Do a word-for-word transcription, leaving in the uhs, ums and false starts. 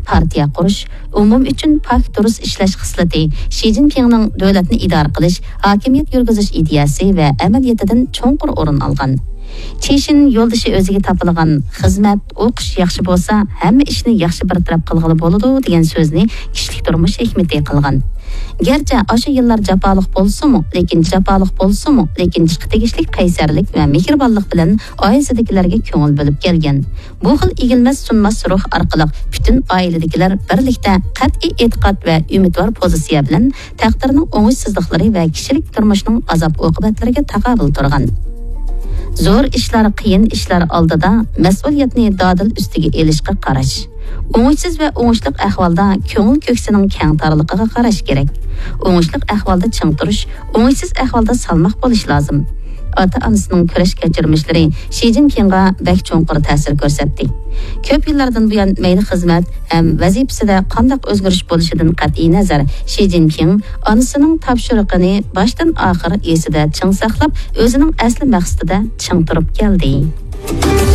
پارتىيە قۇرۇش، ئومۇم ئۈچۈن پاك دۇرۇس ئىشلەش خىسلىتى شى جىنپىڭنىڭ دۆلەتنى ئىدارە قىلىش، ھاكىمىيەت يۈرگۈزۈش ئىدىيەسى ۋە ئەمەلىيىتىدىن چوڭقۇر ئورۇن ئالغان. چىشىن يولدىشى ئۆزىگە تاپىلىغان خىزمەت، ئوقۇش ياخشى بولسا، ھەممە ئىشنى ياخشى بىر تەرەپ قىلغىلى بولىدۇ دېگەن سۆزنى كىشىلىك تۇرمۇش ھېكمىتى قىلغان. گەرچە ئاشۇ يىللار جاپالىق بولسىمۇ، لېكىن جاپالىق بولسىمۇ، لېكىن ئىشقا تېگىشلىك قەيسەرلىك ۋە مېھرىبانلىق بىلەن ئائىلىسىدىكىلەرگە كۆڭۈل بۆلۈپ كەلگەن. بۇ خىل ئېگىلمەس سۇنماس روھ ئارقىلىق پۈتۈن ئائىلىدىكىلەر بىرلىكتە قەتئىي ئېتىقاد ۋە ئۈمىدۋار پوزىتسىيە بىلەن تەقدىرنىڭ ئوڭۇشسىزلىقلىرى ۋە كىشىلىك تۇرمۇشنىڭ ئازاب-ئوقۇبەتلىرىگە تاقابىل تۇرغان. زور ئىشلار، قىيىن ئىشلار ئالدىدا مەسئۇلىيەتنى دادىل ئۈستىگە ئېلىشقا قاراش. ئوڭۇشسىز ۋە ئوڭۇشلۇق ئەھۋالدا كۆڭۈل كۆكسىنىڭ كەڭ تارلىقىغا قاراش كېرەك. ئوڭۇشلۇق ئەھۋالدا چىڭ تۇرۇش، ئوڭۇشسىز ئەھۋالدا سالماق بولۇش لازىم. ئاتا-ئانىسىنىڭ كۈرەش كەچۈرمىشلىرى شى جىنپىڭغا بەك چوڭقۇر تەسىر كۆرسەتتى. كۆپ يىللاردىن بۇيان مەيلى خىزمەت ھەم ۋەزىپىسىدە قانداق ئۆزگىرىش بولۇشىدىن قەتئىينەزەر، شى جىنپىڭ ئانىسىنىڭ تاپشۇرۇقىنى باشتىن ئاخىر ئېسىدە چىڭ ساقلاپ، ئۆزىنىڭ ئەسلى مەقسىتىدە چىڭ تۇرۇپ كەلدى.